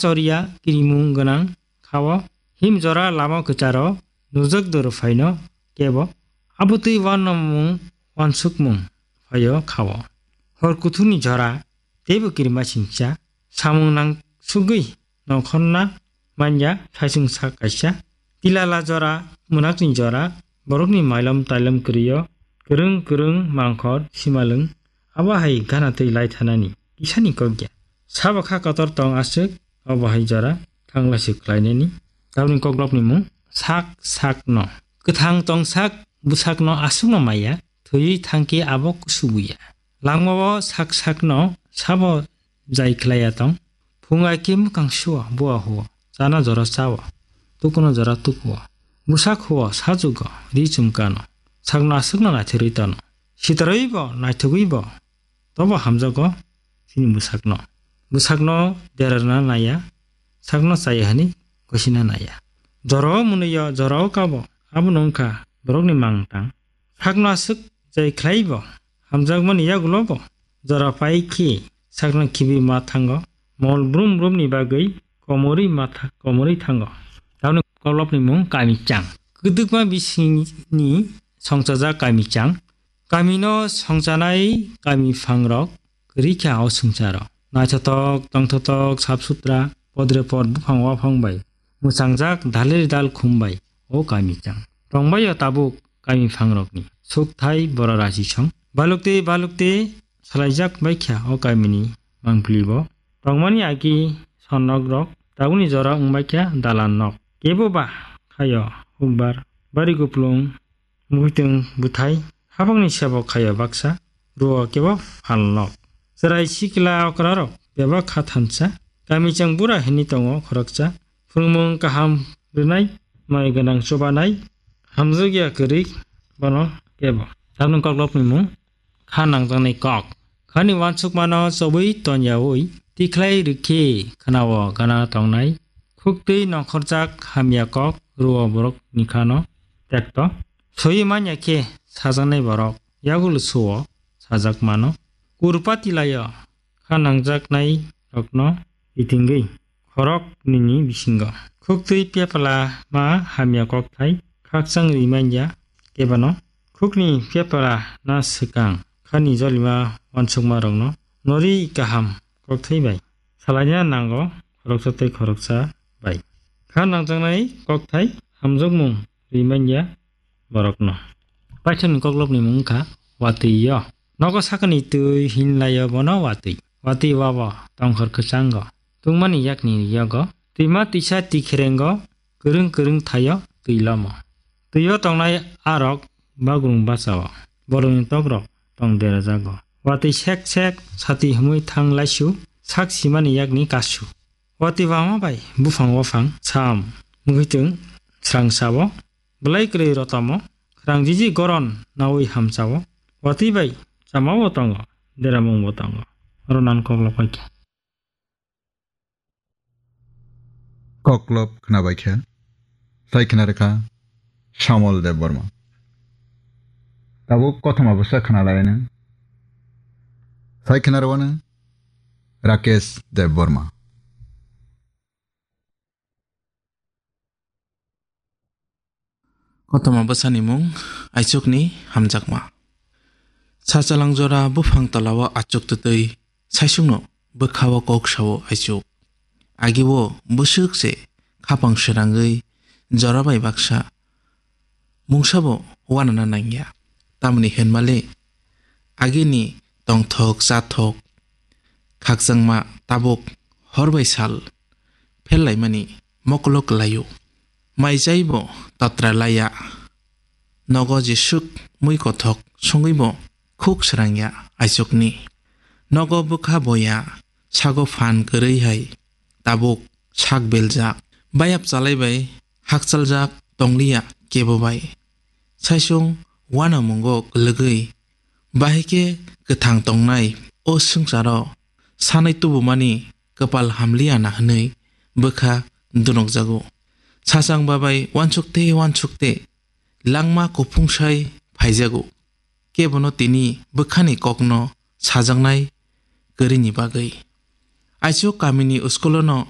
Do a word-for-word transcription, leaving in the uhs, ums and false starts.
choriya kirimung gwnang kha-o. Him jora lama kwcharo nujak doro phaino kebo abotwi uanamung uansukmung phaio kha-o. Hor kuthukni jora teibo kirima singcha samung nangsugwi nongkhorna manya saichung sak kaisa. Tilala jora, mwnakni jora, borokni mailom tailom kwrwi-o kwrwng kwrwng mangkhor simalwng, abo hai gana twi lai thanani kisani kok ya. Sabo kha kotor tong aswk, obo hai jora thanglaswk khlainani. Tabukni koklopni mung sak sakno. Kwthang tong sak bwsakno aswkno maya, thwiwi thangkhe abo kusubuya. Langmao sak sakno sabo jai khlaiya tong. Phung ai khe mwkhang suo, bua huo, chana jora chao, tukuno jora tukuo. Bwsak huo, sajugo, ri chumkano. Sakno aswkno naithorwi tano. Sitorwibo, naithogwibo, tobo hamjago chini bwsakno. Bwsakno derarna naiya, sakno chaya hwnwi gosina naiya. Jorao mwnwiyo, jorao kabo, abono wngkha borokni mangtang. Sakno aswk jai khlaibo, hamjakmani yagulobo jora pai khe sakno khibi ma thango, mol brum brumni bagwi komorwi ma tha-, komorwi thango. Tamoni koklopni mung Kamichang. Kwdwkma bisingni songchajak Kamichang. Kamino songchanai kami phangrok kwrwi kha o swngcharo. Naithotok, tongthotok, sap sutra, podre pod buphang waphang bai mwchangjak, dalir dal khum bai o Kamichang. Tongbaio tabuk kami phangrokni sukthai bora rachi song. Balukte balukte salaijak baikha o kamini mangpili bo. Tongmani agi sonnok rok tabukni jora wngbaikha dalan nok. Kebo ba khaio hukbar bari kuplung muitung buthai habangni sebo khaio baksa ruo kebo phalnok. Chwrai sikla okrarok bebak kha thansa kamichang bura hwnwi tongo khoroksa. Phwrwngmung kaham rwnai, mai gwnang chubanai, hamjakya kwrwi bono kebo. Tabukni koklopni mung kha nangjaknai kok. Khani uansukmano chobwi tonyaui tikhlai rwkhe khwnao gana tongnai. Khuktwi nongkhorjak hamya kok ruo borokni khano tekto. Soiwi manya khe sajaknai borok yagulo suo sajak mano. Kurpati laio kha nangjaknai rokno kitingwi khorok nini bisingo. Khuktwi pepla ma hamya kokthai khakchang rimanya kebano. Khukni pepla na swkang khani jolima uansukma rokno nori kaham kokthai bai salaina nango khoroksa tei khoroksa bai. Kha nangjaknai kokthai hamjakmung rimanya borokno. Paithakni koklopni mung wngkha watwi yo. Nogo sakani twi hinlaio bono watwi. Watwi wabo tongkhor kwchango. Tungmani yakni yogo. Twima twisa tikherengo kwrwng kwrwng thaio twi lomo. Twio tongnai arok bagrung bachao. Borokni tokrok tong derajago. Watwi sek sek sati himwi thang laisu sak simani yakni kasu. Watwi wama bai buphang waphang sam muitung srang sao. Belai kwrwi rotamo, khwrang jiji goron naui hamchao, watwi bai chamao tongo, deramungbo tongo. Oro nan koklop bai khe. Koklop khwnabai khe, sai khwna rwkha Samol Debbarma. Tabuk kothoma bwsa khwna lainai. Sai khwna rwano Rakesh Debbarma. Kothoma bwsani mung Aichukni Hamjakma. Sachalang jora buphang tolao achuk twtwi saisungno bwkhao kok sao Aichuk. Agio bwswk se khapang srangwi jora bai baksa mungsabo uanana nangya. Tamoni hinmale agini tongthok chathok khakchangma tabuk hor bai sal phellaimani mokolo kwlaio. Mai chaibo tatra laiya. Nogo jeswk mui kothok songwibo khuk srangya Aichukni. Nogo bwkha boya sago phan kwrwi hai tabuk sak beljak. Bayap chalai bai hakchaljak tongliya kebo bai. Saisung uanamungo kwlwgwi bahai khe kwthang tongnai o swngcharo sanai tubumani kwpal hamliya na hwnwi bwkha dunukjago. Sachang babai uansukte uansukte langma kuphungsai phaijago. Kebono tini bwkhani kokno sajaknai kwrwini bagwi. Aichuk kamini uskulono